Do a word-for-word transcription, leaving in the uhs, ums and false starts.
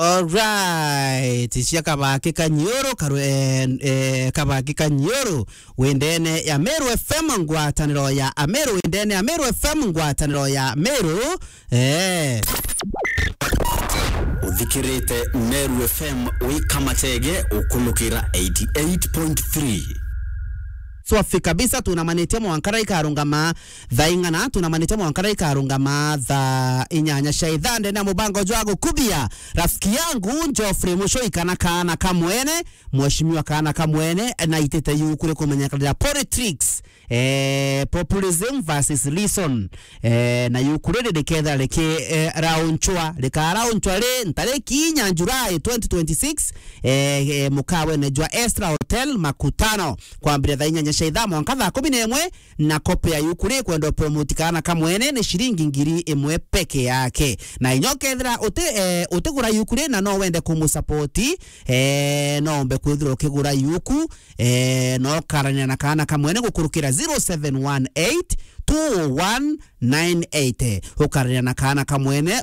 Alright, cia Kabaki Kanyoro, karu-, eh, eh, Kabaki Kanyoro, wendene ya Meru F M, ngwataniro ya Ameru, wendene ya Meru F M, ngwataniro ya Meru, eh. Uthikirite Meru F M, wika machege, ukunukira eighty-eight point three. Swafi kabisa, tunamanitie mwanka ikarungama thaa ing'ana, tunamanitie mwanka ikarungama thaa inyanya cia ithaa, ndene ya mubango jwa gukubia rafiki yangu Geoffrey Muchoi kana kaana kamwene, mheshimiwa kaana kamwene, na itite yuku ri kumenyekanira politics, eh, populism versus reason, eh, na yuku riri rikethira riki, eh, raunchwa, rikaraunchwa ri ntariki inya July twenty twenty-six, eh, eh, mukawene jwa Estra Hotel Makutano, kwambiria thaa inyanya cia ithaa mwanka thaa kumi na imwe, na kopi ya yuku ri kwenda promote kaana kamwene ni ciringi ngiri imwe peke yake. Na inya ukethira uti, eh, utigura yuku ri na no wende kumusapoti, eh, no ombe kwithira ukigura yuku, eh, no ukarania na kaana kamwene gukurukira zero seven one eight two one nine eight. Ukarania na kaana kamwene,